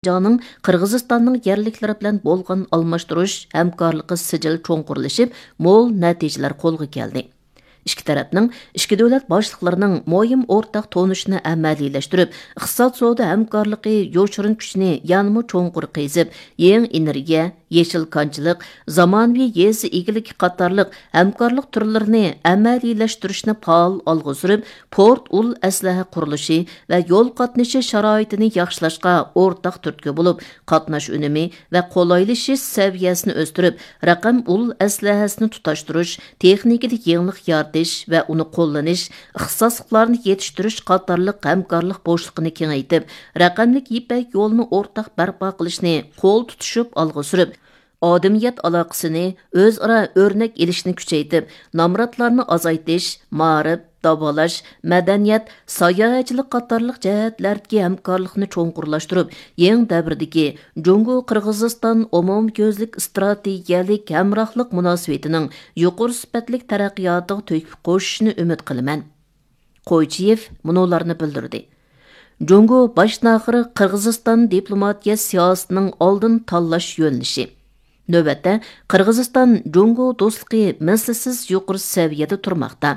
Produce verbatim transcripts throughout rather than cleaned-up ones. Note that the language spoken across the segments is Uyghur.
شىنجاڭنىڭ قىرغىزىستاننىڭ يەرلىكلىرى بىلەن بولغان ئالماشتۇرۇش ھەمكارلىقى سىجىل چوڭقۇرلىشىپ، مول نەتىجىلەر قولغا كەلدى. ئىككى تەرەپنىڭ، ئىككى دۆلەت باشلىقلىرىنىڭ مۇھىم ئورتاق تونۇشىنى ئەمەلىيلەشتۈرۈپ، ئىقتىساد سودا ھەمكارلىقى يوشۇرۇن كۈچىنى يەنىمۇ چوڭقۇر قېزىپ، يېڭى ئېنېرگىيە، يېشىل كانچىلىق، زامانىۋى يېزا ئىگىلىكى قاتارلىق ھەمكارلىق تۈرلىرىنى ئەمەلىيلەشتۈرۈشنى پائال ئالغا سۈرۈپ، پورت ئۇل ئەسلىھە قۇرۇلۇشى ۋە يول قاتنىشى شارائىتىنى ياخشىلاشقا ئورتاق تۈرتكە بولۇپ، قاتناش ئۈنۈمى ۋە قولايلىشىش سەۋىيەسىنى ئۆستۈرۈپ، رەقەم ئۇل ئەسلىھەسىنى تۇتاشتۇرۇش، تېخنىكىدا يېڭىلىق يارىتىش ۋە ئۇنى قوللىنىش، ئىختىساسلىقلارنى يېتىشتۈرۈش قاتارلىق ھەمكارلىق بوشلۇقىنى كېڭەيتىپ، رەقەملىك يىپەك يولىنى ئورتاق بەرپا قىلىشنى قول تۇتۇشۇپ ئالغا سۈرۈپ، ئادەمىيەت ئالاقىسىنى ئۆزئارا ئۆرنەك ئېلىشنى كۈچەيتىپ، نامراتلارنى ئازايتىش، مائارىپ، داۋالاش، مەدەنىيەت، ساياھەتچىلىك قاتارلىق جەھەتلەردىكى ھەمكارلىقنى چوڭقۇرلاشتۇرۇپ، يېڭى دەۋردىكى جۇڭگو قىرغىزىستان ئومۇميۈزلۈك ئىستراتېگىيەلىك ھەمراھلىق مۇناسىۋىتىنىڭ يۇقىرى سۈپەتلىك تەرەققىياتىغا تۆھپە قوشۇشىنى ئۈمىد قىلىمەن. قويچىيېف مۇنۇلارنى بىلدۈردى. جۇڭگو باشتىن-ئاخىر قىرغىزىستان دىپلوماتىيە سىياسىتىنىڭ ئالدىن تاللاش يۆنىلىشى. نۆۋەتتە، قىرغىزىستان جۇڭگو دوستلۇقى مىسلىسىز يۇقىرى سەۋىيەدە تۇرماقتا.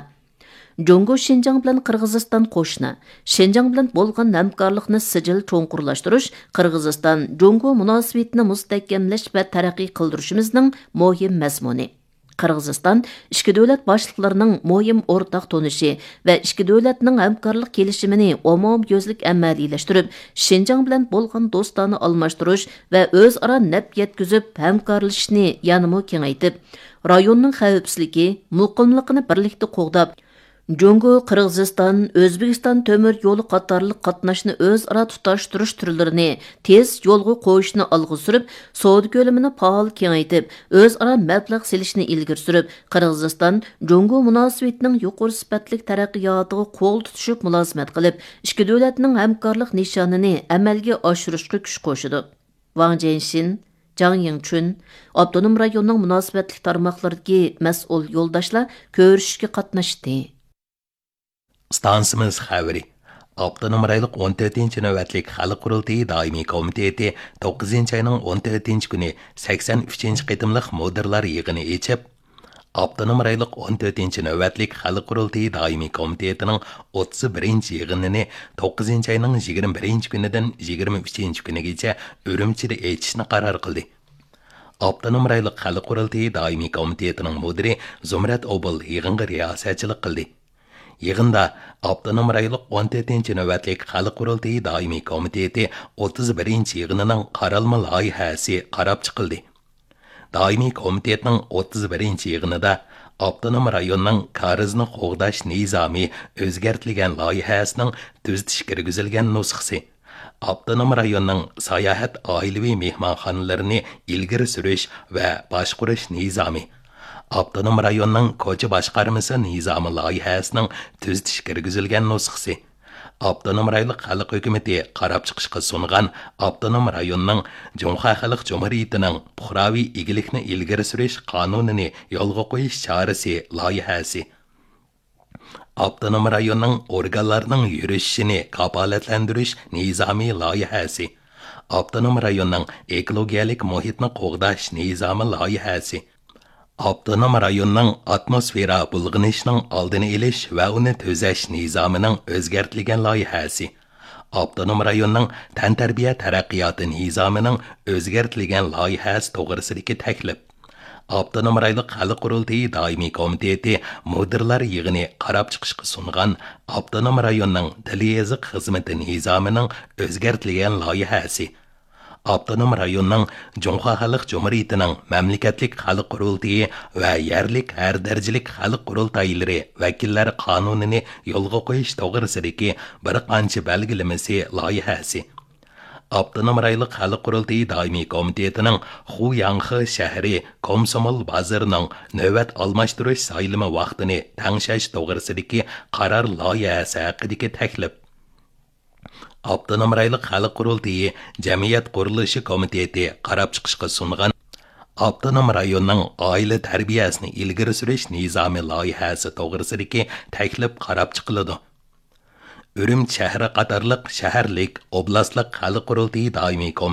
جۇڭگو شىنجاڭ بىلەن قىرغىزىستان قوشنا، شىنجاڭ بىلەن بولغان ھەمكارلىقنى سىجىل چوڭقۇرلاشتۇرۇش، قىرغىزىستان جۇڭگو مۇناسىۋىتىنى مۇستەھكەملەش ۋە تەرەققىي قىلدۇرۇشىمىزنىڭ مۇھىم مەزمۇنى. قىرغىزىستان ئىككى دۆلەت باشلىقلىرىنىڭ مۇھىم ئورتاق تونۇشى ۋە ئىككى دۆلەتنىڭ ھەمكارلىق كېلىشىمىنى ئومۇميۈزلۈك ئەمەلىيلەشتۈرۈپ، شىنجاڭ بىلەن بولغان دوستانە ئالماشتۇرۇش ۋە ئۆزئارا نەپ يەتكۈزۈپ ھەمكارلىشىشنى يەنىمۇ كېڭەيتىپ، رايوننىڭ خەۋپسىزلىكى، مۇقىملىقىنى بىرلىكتە قوغداپ، جۇڭگو، قىرغىزىستان، ئۆزبېكىستان تۆمۈر يولى قاتارلىق قاتناشنى ئۆزئارا تۇتاشتۇرۇش تۈرلىرىنى تېز يولغا قويۇشنى ئالغا سۈرۈپ، سودا كۆلىمىنى پائال كېڭەيتىپ، ئۆزئارا مەبلەغ سېلىشنى ئىلگىرى سۈرۈپ، قىرغىزىستان جۇڭگو مۇناسىۋىتىنىڭ يۇقىرى سۈپەتلىك تەرەققىياتىغا قول تۇتۇشۇپ مۇلازىمەت قىلىپ، ئىككى دۆلەتنىڭ ھەمكارلىق نىشانىنى ئەمەلگە ئاشۇرۇشقا كۈچ قوشىدۇ. ۋاڭ جيەنشىن، جاڭ يىڭچۈن، ئاپتونوم رايوننىڭ مۇناسىۋەتلىك تارماقلىرىدىكى مەسئۇل يولداشلار كۆرۈشۈشكە قاتناشتى. ئىستانسىمىز خەۋىرى. ئاپتونوم رايونلۇق ئون تۆتىنچى نۆۋەتلىك خەلق قۇرۇلتىيى دائىمىي كومىتېتى توققۇزىنچى ئاينىڭ ئون تۆتىنچى كۈنى سەكسەن ئۈچىنچى قېتىملىق مۇدىرلار يىغىنى ئېچىپ، ئاپتونوم رايونلۇق ئون تۆتىنچى نۆۋەتلىك خەلق قۇرۇلتىيى دائىمىي كومىتېتىنىڭ ئوتتۇز بىرىنچى يىغىنىنى توققۇزىنچى ئاينىڭ يىگىرمە بىرىنچى كۈنىدىن يىگىرمە ئۈچىنچى كۈنىگىچە ئۈرۈمچىدە ئېچىشنى قارار قىلدى. ئاپتونوم رايونلۇق خەلق قۇرۇلتىيى دائىمىي كومىتېتىنىڭ مۇدىرى زۇمرەت ئوبۇل يىغىنغا رىياسەتچىلىك قىلدى. يىغىندا ئاپتونوم رايونلۇق ئون تۆتىنچى نۆۋەتلىك خەلق قۇرۇلتىيى دائىمىي كومىتېتى ئوتتۇز بىرىنچى يىغىنىنىڭ قارالما لايىھەسى قاراپ چىقىلدى. دائىمىي كومىتېتنىڭ ئوتتۇز بىرىنچى يىغىنىدا ئاپتونوم رايوننىڭ كارىزنى قوغداش نىزامى ئۆزگەرتىلگەن لايىھەسىنىڭ تۈزىتىش كىرگۈزۈلگەن نۇسخىسى، ئاپتونوم رايوننىڭ ساياھەت ئائىلىۋى مېھمانخانىلىرىنى ئىلگىرى سۈرۈش ۋە باشقۇرۇش نىزامى، ئاپتونوم رايوننىڭ كوچا باشقارمىسى نىزامى لايىھەسىنىڭ تۈزىتىش كىرگۈزۈلگەن نۇسخىسى، ئاپتونوم رايونلۇق خەلق ھۆكۈمىتى قاراپ چىقىشقا سۇنغان ئاپتونوم رايوننىڭ جۇڭخۇا خەلق جۇمھۇرىيىتىنىڭ پۇقراۋى ئىگىلىكنى ئىلگىرى سۈرۈش قانۇنىنى يولغا قويۇش چارىسى لايىھەسى، ئاپتونوم رايوننىڭ ئورگانلارنىڭ يۈرۈشۈشىنى كاپالەتلەندۈرۈش نىزامى لايىھەسى، ئاپتونوم رايوننىڭ ئېكولوگىيەلىك مۇھىتنى قوغداش نىزامى لايىھەسى، ئاپتونوم رايوننىڭ ئاتموسفېرا بۇلغىنىشنىڭ ئالدىنى ئېلىش ۋە ئۇنى تۈزەش نىزامىنىڭ ئۆزگەرتىلگەن لايىھەسى، ئاپتونوم رايوننىڭ تەنتەربىيە تەرەققىياتى نىزامىنىڭ ئۆزگەرتىلگەن لايىھەسى توغرىسىدىكى تەكلىپ، ئاپتونوم رايونلۇق خەلق قۇرۇلتىيى دائىمىي كومىتېتى مۇدىرلار يىغىنى قاراپ چىقىشقا سۇنغان ئاپتونوم رايوننىڭ تىل يېزىق خىزمىتى نىزامىنىڭ ئۆزگەرتىلگەن لايىھەسى، ئاپتونوم رايوننىڭ جۇڭخۇا خەلق جۇمھۇرىيىتىنىڭ مەملىكەتلىك خەلق قۇرۇلتىيى ۋە يەرلىك ھەر دەرىجىلىك خەلق قۇرۇلتايلىرى ۋەكىللەر قانۇنىنى يولغا قويۇش توغرىسىدىكى بىر قانچە بەلگىلىمىسى لايىھەسى، ئاپتونوم رايونلۇق خەلق قۇرۇلتىيى دائىمىي كومىتېتىنىڭ خۇياڭخې شەھىرى كومسومول بازىرىنىڭ نۆۋەت ئالماشتۇرۇش سايلىمى ۋاقتىنى تەڭشەش توغرىسىدىكى قارار لايىھەسى ھەققىدىكى تەكلىپ، ئاپتونوم رايونلۇق خەلق قۇرۇلتىيى جەمئىيەت قۇرۇلۇشى كومىتېتى قاراپ چىقىشقا سۇنغان ئاپتونوم رايوننىڭ ئائىلە تەربىيەسىنى ئىلگىرى سۈرۈش نىزامى لايىھەسى توغرىسىدىكى تەكلىپ قاراپ چىقىلىدۇ. ئۈرۈمچى شەھىرى قاتارلىق شەھەرلىك، ئوبلاستلىق خەلق قۇرۇلتىيى دائىمىي كومىتېتى